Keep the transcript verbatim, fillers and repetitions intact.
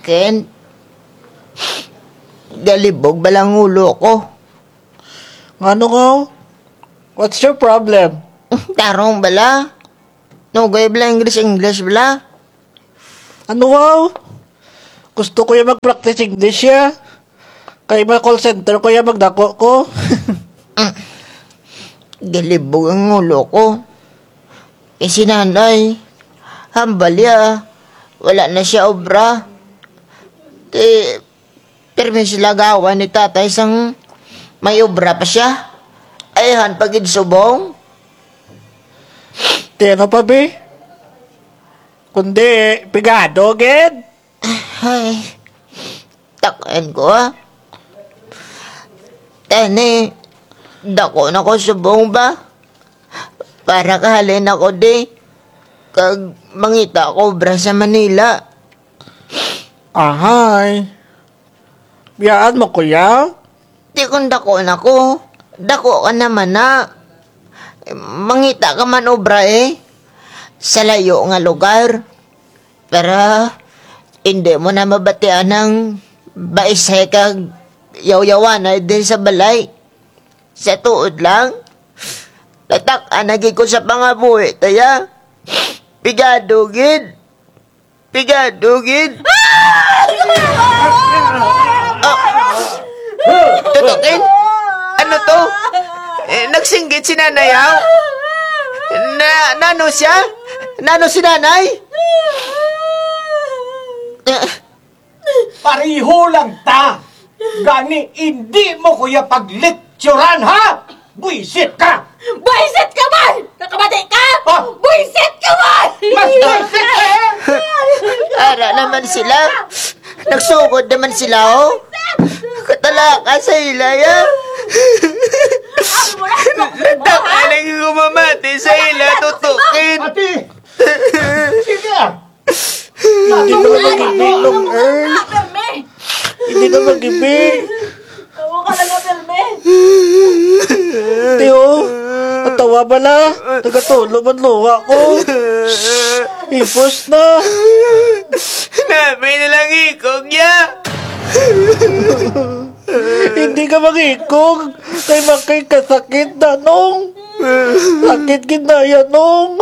Tin, galibog bala ang ulo ko. Ngano nga? What's your problem? Tarong bala. Nugay bala English, English bala. Ano, wow? Gusto ko ya mag-practice English ya. Kay ma-call center ko ya magdako ko. Galibog ang ulo ko. Eh, si nanay, hambal ya. Wala na siya obra. Ti, pirmi sila gawa ni tatay sang may obra pa siya. Ay, han pa gid subong. Ti ano pa, bi? Kundi, pigado gid. Ay, tak-an ko, ah. Tani, dako na ko subong ba? Para kahalin ako di. Kag mangita ko obra sa Manila. Ahay. Biyaan mo ko ya? Ti kon dako na ko, dako ka na man na. Mangita ka man obra, eh. Sa layo nga lugar. Para indi mo na mabatian ang baisay kag yawyawanay diri sa balay. Sa tuod lang, natak-an na gid ko sa pangabuhi, tay, ah. Pigado gid. Pigado gid. Ah! Tutukin? Ano to? Eh, nagsinggit si nanay, haw? Na, nano siya? Nano si nanay? Eh, pareho lang ta. Gani, indi mo ko ya paglekturan, ha? Buwisit ka! Buwisit ka man! Nakamati ka? Ah! Buwisit ka man! Mas buwisit ka, eh! Ara na man sila. Nagsugod na man sila, oh. Katalaka sa ila, ya. Natak-an na gid ko mamati sa ila, tutukin. Ate! Sige, ah! Hindi ka magibi, Long Earl. Hindi ka magibi. Tiyo, atawa bala. Nagatulo man luha ko. Hipos na. Nami na lang ikog ya. Hindi ka mangikog. Kay makikasakit na, Nong. Sakit gid na ya, Nong.